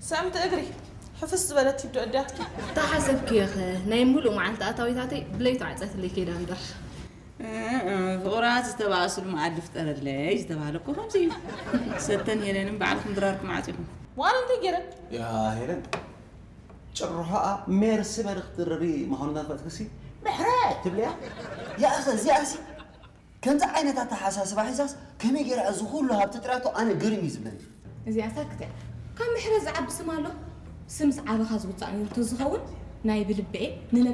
ሰምቲ እግሪ ሕፍስ ዝበለት ይብዶ እዳትኪ። ተሓሰብክዮ ኸ ናይ ሙሉእ መዓልቲ ኣታዊታተይ ብለይቱ ዓፀትለይ ከይዳ እምበር። ፍቕራ ዝተባእሱሉ መኣዲ ፍጠረለይ ዝተባህለ እኮ ከምዚ እዩ። ሰተን ሄለንን ባዕልኩም ድራርኩም ዓፂኹም። ዋላ እንታይ ገይረ? ያ ሄለን ጭርሖኣ ሜርሲ በሪ ክትድርሪ ምዃኑ እናፈለጥክሲ ምሕረት ትብልያ። ያእኸ እዚኣሲ ከምዚ ዓይነት ኣተሓሳስባ ሒዛስ ከመይ ገይራ እዚ ኩሉ ሃብቲ ጥራቶ ኣነ ግርም እዩ ዝብለኒ። እዚኣ ሳክት እያ። ካብ ምሕረት ዝዓቢ ስም ኣሎ። ስምስ ዓበኻ ዝውፃእ ነይሩ ተዝኸውን ናይ ብልበኤ